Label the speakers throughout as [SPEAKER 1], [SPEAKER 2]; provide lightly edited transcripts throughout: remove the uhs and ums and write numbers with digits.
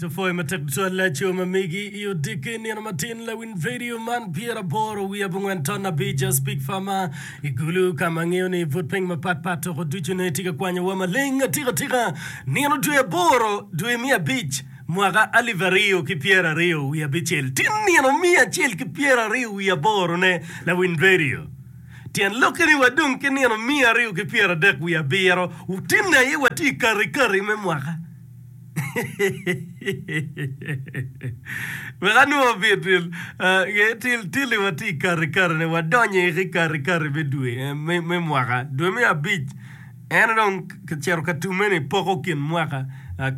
[SPEAKER 1] Alright, apwoyo matek tutwal laco ma megi i odiki nino matin lawiny radio man pyeraboro wiye abongwen ton abic Speak Farmer i Gulu ka ma angeyo ni but piny mapat pat toko ducu ne tye ka kwanyowa maleng atika tika nino dwe aboro dwe me abic mwaka alip aryo ki pyeraryo wiye abicel tin nino miya acel ki pyeraryo wiye aboro ne lawiny radio Tyen lokke ni wadong ki nino 230 wiye abiro, tinne aye watye i kati-kati me mwaka. Wek anwo bit til, tilli watye i kati-kati-ni, wadonyo i kati-kati me dwe me mwaka, dwe me abic. En dong kicito ka tumme ni poko kin mwaka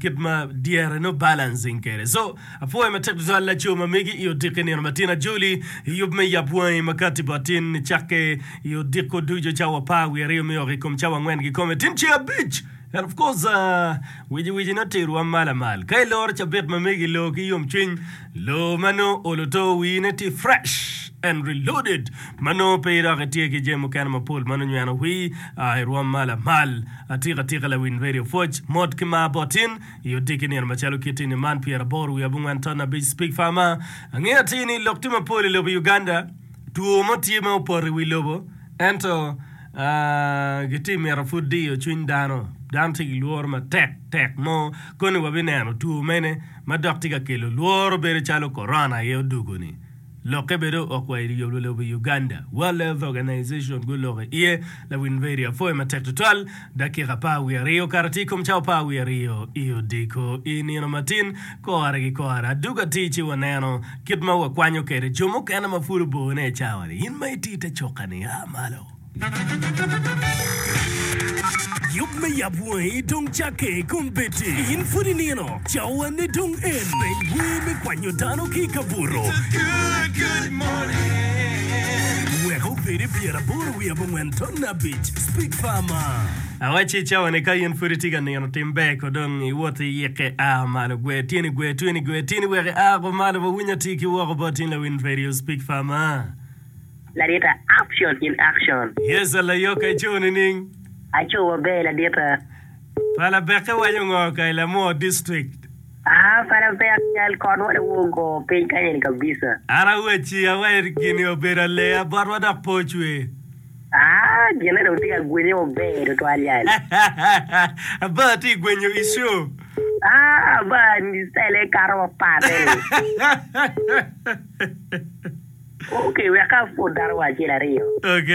[SPEAKER 1] kit ma dyere nongo balancing kwede. So, apwoyo matek tutwal laco ma megi i odiko nino matin ajoli i yub me yab wangi ma kati bot tin nicakke i odiko ducu cawa apar wiye aryo me oko i kom cawa angwen kikome tin ceng abic. And of course, uh, wici wici nongo terwa malo amal. Ka iloro cabit ma megi loo ki yomcwiny, loo ma nongo olo to wii ne tye fresh and reloaded ma nongo pe idok itye ki jami mukene mapol ma nongo nyweno wii i rwom ma lamal atika atika lawiny radio pwoc mot ki mar bot in i odiki nino macalo kit ini man pyeraboro wiye abongwen ton abic speak farmer angeyo atir ni lok tye mapol i lobo Uganda two mo tye ma opoto i wi lobo ento Gitye mito pud diyo cwiny dano. Dano tye ki lworo matek tek mo. Koni wabineno two mene ma dok tye ka kelo lworo bedo calo korona aye odugo-ni. Lokke bene ook wa i lobo Uganda. World Health Organization guloko iye. Lawiny radio apwoyo matek tutwal. Dakika apar wiye aryo okato atir i kom cawa apar wiye aryo i odiko i nino matin. Kore ki kore adugo atir ci waneno kit ma wakwanyo kwede jo mukene ma pud obone i cawa-ni. In ma itye i te cuka-ni, a malo. Yub me yab wangi dong cakke kombeddi. In pud inino, cawane dong en. Peny wer me kwanyo dano ki i kabuto. Wek obed i pyeraboro wiye abongwen ton abic. Speak Farmer. Awacci cawa-ni ka in pud itye ka nino tim ber ko dong iwot iyikke a malo gwer tyeni gwer tyeni gwer tyeni wek ia ko malo wawiny atir ki woko bot in lawiny radio Speak Farmer.
[SPEAKER 2] Ladita action in action.
[SPEAKER 1] Yes alayoka ico nining?
[SPEAKER 2] Aco maber ladita.
[SPEAKER 1] Pala beke waco ngo ka i lamwo district?
[SPEAKER 2] Aa pala bek cal kot wa dong ogo piny kany eni kabisa.
[SPEAKER 1] An awacci awaci gini obedo aleya botwa dok pe ocwe.
[SPEAKER 2] Aa gine dong tye ka gwenye maber tutwal yal.
[SPEAKER 1] Aba tye gwenyo i show.
[SPEAKER 2] Aa aba style kato mapat eni. Ok, wek apwod dano wa acel aryo.
[SPEAKER 1] Ok.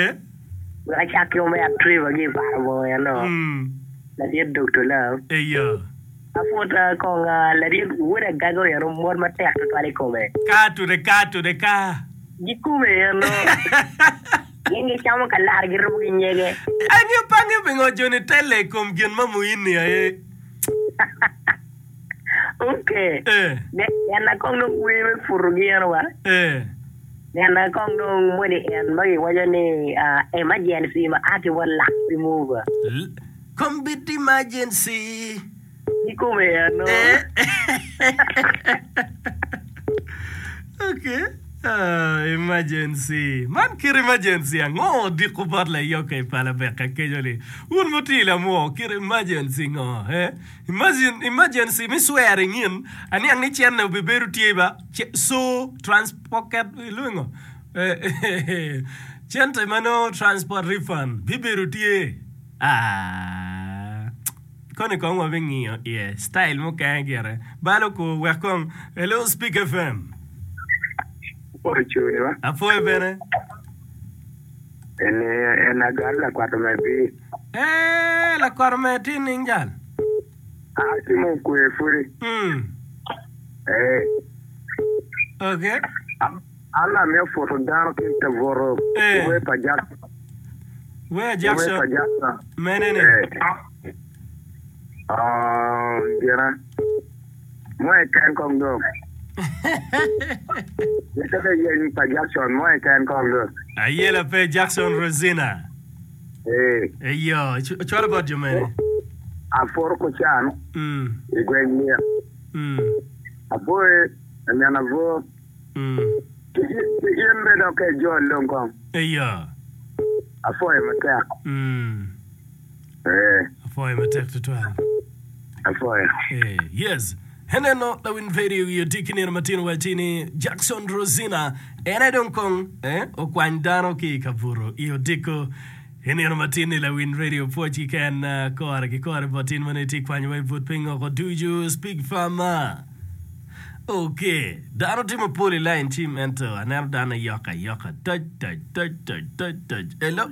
[SPEAKER 2] Wek acak ki omera Trevor ki i Parabor eno.
[SPEAKER 1] Mm.
[SPEAKER 2] Ladit Doctor Love.
[SPEAKER 1] Eyo.
[SPEAKER 2] Apwod kong ladit wod Agago eno mot matek tutwal i kome.
[SPEAKER 1] Ka tude ka tude ka.
[SPEAKER 2] Gikome eno. Gin gicamo kalar girubo ki nyege.
[SPEAKER 1] Angeyo pe angeyo pingo joni telle i kom gin ma muini aye.
[SPEAKER 2] Ok.
[SPEAKER 1] Eh.
[SPEAKER 2] Nena kong dong wer me puto gi eno wa.
[SPEAKER 1] Eh.
[SPEAKER 2] Nena kong dong moni en ma giwaco ni ah, emergency ma a ki bot lak pi mover.
[SPEAKER 1] L- Kombeddi emergency.
[SPEAKER 2] Kikome eno.
[SPEAKER 1] Eh. Okay. Ah, emergency. Man kit emergency ango odiko bot layoka i pala beka keco ni wun mutye i lamwo kit emergency ngo eh? Imagine, emergency me swearing in, aniang ni cene obibedo tye ba, so transpocket, ilwongo ngo? Cente ma nongo transport refund bibedo tye. Ah, koni kong wabingiyo iye, style mukene gire. Balo kor, wek kong, hello Speak FM.
[SPEAKER 3] Apwoyo cuni ba.
[SPEAKER 1] Apwoyo bene.
[SPEAKER 3] Eni en agalo lakwat omegi.
[SPEAKER 1] Ee, lakwat omer tye nining jal?
[SPEAKER 3] Aa ci mo okwe pudi.
[SPEAKER 1] Mm.
[SPEAKER 3] Ee.
[SPEAKER 1] Okay.
[SPEAKER 3] An amiyo puto dano ki i kabuto
[SPEAKER 1] Eh.
[SPEAKER 3] wer pa Jackson.
[SPEAKER 1] Wer
[SPEAKER 3] Wer
[SPEAKER 1] Jackson
[SPEAKER 3] pa Jackson.
[SPEAKER 1] mene ni?
[SPEAKER 3] Ee. Ah, gina. Mo keken kong dong. Mitte me yeny pa Jackson mo keken kong dong.
[SPEAKER 1] Ayela pe Jackson Rosina.
[SPEAKER 3] Ee.
[SPEAKER 1] Eyo, cwalo bot jo mene?
[SPEAKER 3] Aporo Kucan
[SPEAKER 1] Mm.
[SPEAKER 3] i gweng Lik.
[SPEAKER 1] Mm.
[SPEAKER 3] Aboye i min abor.
[SPEAKER 1] Mm.
[SPEAKER 3] Ki in bene dok ka ijol dong kong.
[SPEAKER 1] Eyo.
[SPEAKER 3] Apwoyo matek.
[SPEAKER 1] Mm.
[SPEAKER 3] Ee.
[SPEAKER 1] Apwoyo matek tutwal.
[SPEAKER 3] Apwoyo.
[SPEAKER 1] Ee, yes. Eneno lawiny radio i odiki nino matino wacci ni Jackson Rosina en aye dong kong eh, okwany dano ki i kabuto i odiko i nino matin-ni. Lawiny radio pwoc kiken kore ki kore bot in ma nongo itye kwanyowa i but piny oko ducu. Speak Farmer. Ok, dano tye mapol i lain cim ento aneno dano ayoka ayoka toc toc toc toc toc toc. Hello.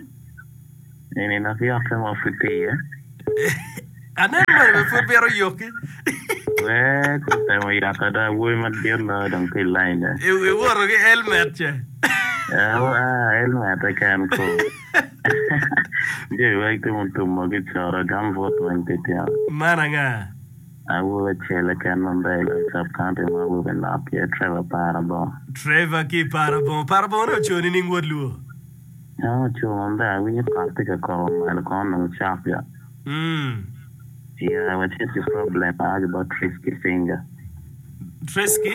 [SPEAKER 3] Eni dok yokke mo pud tye iye.
[SPEAKER 1] Aneno moni bene pud mito yoki.
[SPEAKER 3] Wee kutemo yot ada awobi madit loyo dong tye i line ne.
[SPEAKER 1] Iwoto ki helmet ce.
[SPEAKER 3] Ah, helmet keken ko. Jami weng tye mutumo ki coro gambut weng tye tye.
[SPEAKER 1] Man anga?
[SPEAKER 3] Awobi acel keken ma ber loyo i sub county ma awobi nok tye Trevor Parabongo.
[SPEAKER 1] Trevor ki Parabongo. Parabongo ne oco nining wod luo?
[SPEAKER 3] En oco maber awinyo kot tye ka koko malo kono onongo cok ya. Yeah, watye ki problem aa ki bot Trisky Finger.
[SPEAKER 1] Trisky?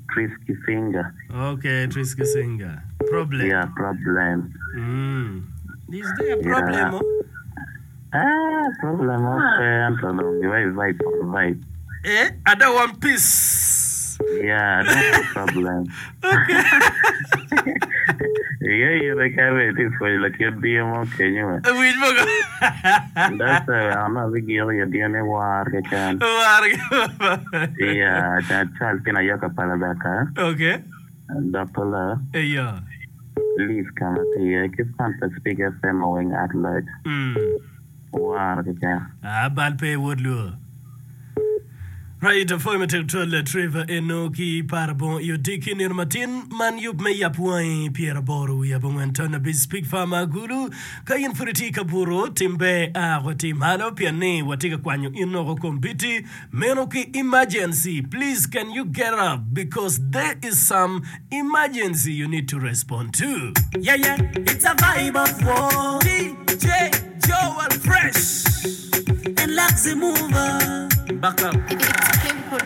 [SPEAKER 3] Trisky Finger.
[SPEAKER 1] Okay, Trisky Singer. Problem.
[SPEAKER 3] Yeah, problem.
[SPEAKER 1] Is there a problem?
[SPEAKER 3] Yeah. Ah, problem mo pe ento dong giwaco vibe on vibe.
[SPEAKER 1] Eh, I don't want peace.
[SPEAKER 3] Yeah, I don't want problem.
[SPEAKER 1] Okay.
[SPEAKER 3] Iye ire kene itye pwonyo lakit diyo mo kenyo we.
[SPEAKER 1] Winj mogo.
[SPEAKER 3] That's why an abigiko i adiya ni war keken.
[SPEAKER 1] War keken.
[SPEAKER 3] Yeah, Charles Kina Yoka pa Labeka.
[SPEAKER 1] Okay.
[SPEAKER 3] Dr. La.
[SPEAKER 1] Eyo.
[SPEAKER 3] Liz ka ma tye iye ki fan pa Speak FM oweng at large. War keken.
[SPEAKER 1] Ah, bal pe wod luo. Right, apwoyo matek twal Trevor eno ki Parabongo i odiki nino matin man yub me yap wangi 89 ton abic Speak Farmer Agulu. Ka in pud itye i kabuto, tim ber a wati malo pien ni watye ka kwanyo in oko kombiti meno ki emergency. Please can you get up because there is some emergency you need to respond to.
[SPEAKER 4] Yeah yeah, it's a vibe of war.
[SPEAKER 1] DJ Joel Fresh
[SPEAKER 4] and Luxy Mover.
[SPEAKER 1] Back up.